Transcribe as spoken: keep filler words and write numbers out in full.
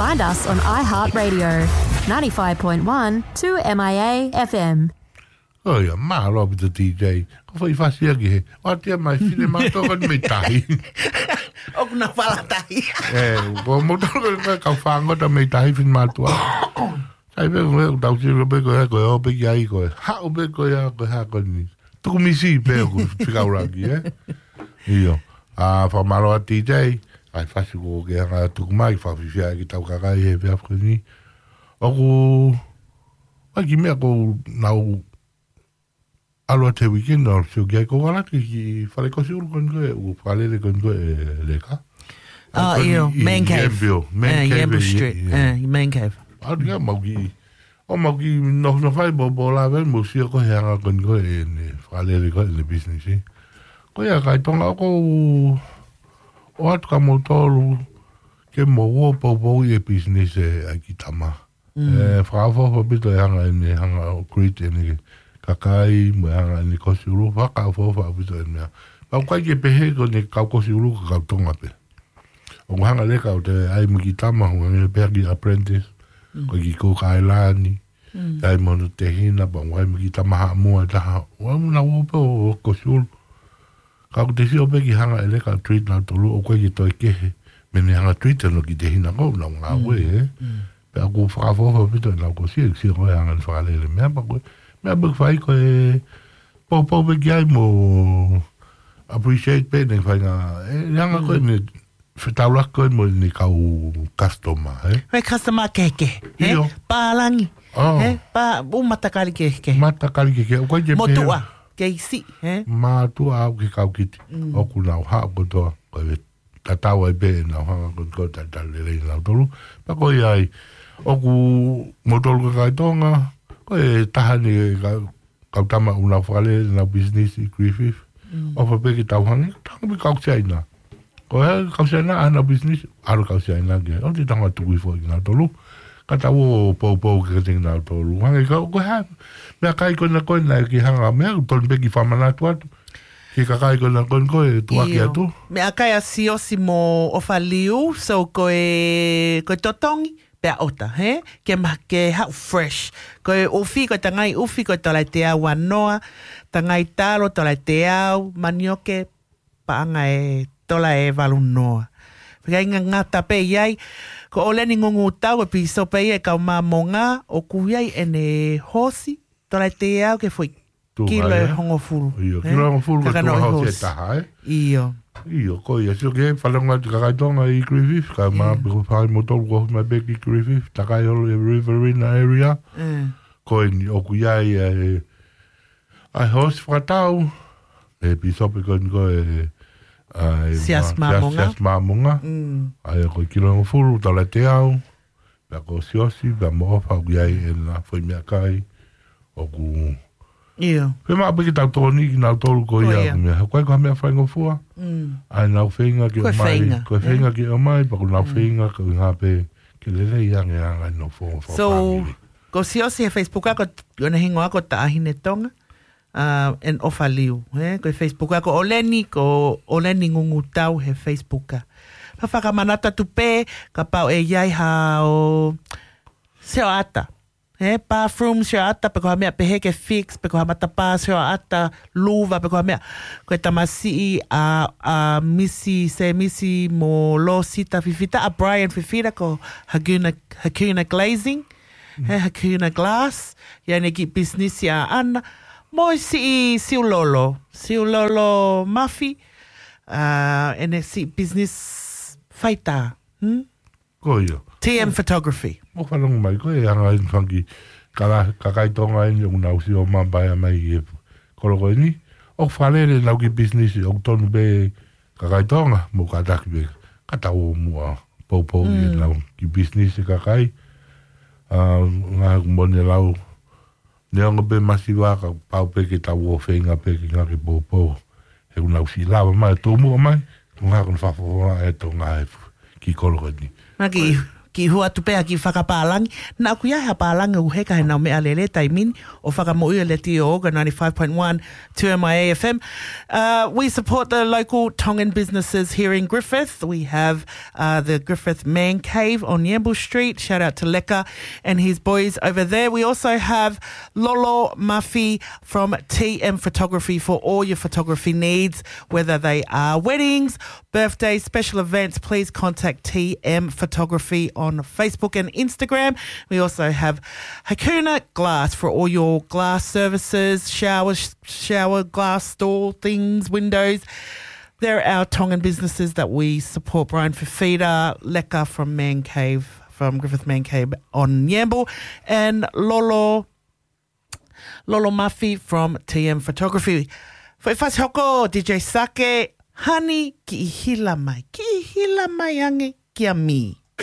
Find us on iHeartRadio, ninety-five point one two M I A F M. ʻOi, mālō ʻaupito T J. Ko fai fasi ia ki he. ʻOua te mei fine mātuʻa ko eni mei tahi. ʻOku na fala tahi. ʻE, ko moutolu ko e kau fāngota mei tahi fine mātuʻa. Sai pē ko e tau sio pē ko e, ko e ō pē ki ai ko e. Haʻu pē ko e, ko e hā ko eni. Tuku misi pē ʻoku fikaulaki, ē? ʻIo. ʻA, fakamālō atu T J. ʻAi fasi ko ke hanga tuku mai, fakafifia ki he tau kakai he efiafi ko eni. ʻOku, ʻai ki he meʻa ko nau ʻalu atu he weekend, ʻalu sio ki ai ko Valaki ki Fale Kosi Ulu ko eni ko e, ʻoku fakalele ko eni ko e leka. ʻA, ʻio, ʻi, ʻi Man Cave. Yambio, Man Cave, Yambio Street. ʻIo. ʻE, ʻi Man Cave. ʻAlu ki ai mau ki, ʻo mau ki nofo nofo ai, mo, mo lave, mo sio ko e hanga ko eni ko e, ʻene fakalele ko e, ʻene business, ē. Ko ia kakai Tonga ʻoku, ʻoatu kia moutolu, ke mou ō poupou ʻi he business ē ʻa e kiʻi tama. ʻE, fakaʻofoʻofa ʻaupito e hanga ʻene hanga ʻo greet ʻene kakai, mo e hanga ʻene Kosi Ulu, fakaʻofoʻofa ʻaupito ʻene meʻa. Pea ʻoku ʻikai ke pehē ko ʻene kau Kosi Ulu ko e kau Tonga pē. ʻOku hanga leka ʻo te ʻai mo e kiʻi tama, ʻoku hanga pē ki he apprentice, ko e kiʻi Cook Island, ʻai mo hono tehina, pea ʻai mo e kiʻi tama Haʻamoa ʻe taha. ʻOku ʻai mo nau ō pē ʻo Kosi Ulu. Ka ʻoku te sio pē ki he hanga ʻe leka ʻo treat nautolu, ʻoku ʻikai ke toe kehe mei heʻene hanga treat hono kiʻi tehina ko ʻena ngāue, ē. Pea ʻoku fakaʻofoʻofa ʻaupito ʻenau Kosi, ʻe sio ko e hanga ʻene fakalele meʻa pea ko e. Meʻa pē ʻoku fai ko e poupou pē ki ai mo appreciate pē ʻene faʻahinga, ʻe, ʻe hanga ko ʻene fetaulaki ko ē mo ʻene kau customer, ē? Ko e customer kehekehe, ē? ʻIo. Pālangi, ʻo, ē? Pā, ʻū matakali kehekehe. Matakali kehekehe. ʻOku ʻikai ke pehē. Motuʻa, kei siʻi, ē? Mātuʻa au ki he kau kiti. ʻOku nau haʻu kotoa, ko e tatau ai pē ʻenau hanga ko ē ʻo talitali lelei nautolu. Pea ko ia ai, ʻoku moutolu kakai Tonga, ko e taha eni ka kau tama ʻoku nau fakalele ʻenau business ʻi Griffith. ʻOfa pē ke tau hangē, tau hangē pē kau Siaina. Ko e kau Siaina ʻa ʻenau business, ʻalu kau Siaina ki ai. ʻOua te tau hanga tuku hifo kinautolu. Ka tau ō poupou kiate kinautolu. Hangē ko e, ko e hā, meʻakai ko ena ko ena ke hanga, meʻa, tonu pē ke fakamanatu atu. Ki he kakai ko ena ko ena ko e tuʻaki atu. Meʻakai ʻa Siosi mo ʻOfa Liu, so ko e, ko e totongi, pea ʻota, hē? Ke ma-, ke haʻu fresh. Ko e ʻufi, ko e tangai ʻufi, ko e tola ʻe teau ua noa, tangai talo, tola ʻe teau, manioke, paʻanga ʻe tola ʻe valu noa. Fakainga ngata pē ʻi ai, ko ʻOleni Ngungutau, ko e pīsope ia ʻo e kau Māmonga, ʻoku ʻi ai ʻene hoosi, tola ʻe teau ki he foʻi kilo ʻe hongofulu. ʻIo, kilo ʻe hongofulu ko e tuʻa hoosi ʻe taha, ē? ʻIo. ʻIo, ko ia, sio ki he fakalongo atu kakai Tonga ʻi Griffith, ka ma pe ko fai moutolu ko mai pē ki Griffith, takai holo ʻi he Riverina area. Ko eni ʻoku ʻi ai ʻa e, ʻa e hoosi fakatau, ʻe pīsope ko eni ko e, ʻa e Siasi Māmonga. Siasi Māmonga. ʻA ia ko e kilo ʻe hongofulu, tola ʻe teau. Pea ko Siosi, pea mo ʻOfa ʻoku ʻi ai ʻena foʻi meʻakai, ʻoku. ʻIo. Pea maʻu pē ke tau tokoni kinautolu ko ia, ko e meʻa. Ko e ko e meʻa faingofua. ʻA ʻenau feinga ke ʻomai. Ko e feinga ke ʻomai, pea ko ʻenau feinga ko e ngā pē ke lelei ange ʻa e ngaahi nofo fakafāmili. So, ko Siosi he Facebook ko, ko ʻene hingoa ko Taʻahine Tonga. ʻA, ʻa ʻOfa Liu, ē? Ko e Facebook ko ʻOleni, ko ʻOleni Ngungutau he Facebook. Pea fakamanatu atu pē, kapau ʻe ʻi ai haʻo sioʻata. Ē, bathroom sioʻata, pe ko ha meʻa pehē ke fix, pe ko ha matapā sioʻata, luva, pe ko ha meʻa. Ko e tamasiʻi ʻa, ʻa Misi, Sēmisi mo Losita Fifita, ʻa Brian Fifita, ko Hakuna, Hakuna Glazing. He Hakuna Glass, ʻi ai ʻene kiʻi business ʻaʻana. Mo e siʻi Siulolo, Siulolo Mafi, ʻa, ʻene siʻi business faitā. Hmm? Ko ia. T M Photography. Mo fanongo mai, ko e anga ʻeni fanga kiʻi kala, kakai Tonga ʻeni ʻoku nau sio mamahi mai ʻi he kolo ko ʻeni. ʻOku fakalele ʻenau kiʻi business, ʻoku tonu pē kakai Tonga, mo kātaki pē, ka tau ō muʻa, poupou ʻi heʻenau kiʻi business ʻa e kakai, ʻa, ngaahi ʻoku mo ne lau, neongo pē masiva ka pau pē ke tau ō feinga pē ke ngāue ke poupou. He ʻoku nau siʻi lava mai, tō muʻa mai, ko e ngaahi ʻoku nau fakafofonga ʻe Tonga he kiʻi kolo ko ʻeni. Maki, Kiʻi hū atu pē ha kiʻi fakapālangi. Naʻa ʻoku ʻi ai ha pālangi ʻoku heka he ʻenau meʻalele taimi ni, ʻo fakamoʻui ʻe he letiō ʻo ka ninety-five point one two M I A F M. Uh, we support the local Tongan businesses here in Griffith. We have uh, the Griffith Man Cave on Yamble Street. Shout out to Leka and his boys over there. We also have Lolo Muffy from T M Photography for all your photography needs, whether they are weddings, birthdays, special events, please contact T M Photography on Facebook and Instagram. We also have Hakuna Glass for all your glass services, shower, shower glass, door things, windows. They're our Tongan businesses that we support. Brian Fifita, Leka from Man Cave, from Griffith Man Cave on Yamble, and Lolo, Lolo Muffy from T M Photography. Foʻi fasi hoko, D J Sake, Honey, kiʻi hila mai, kiʻi hila mai ange kia Mi.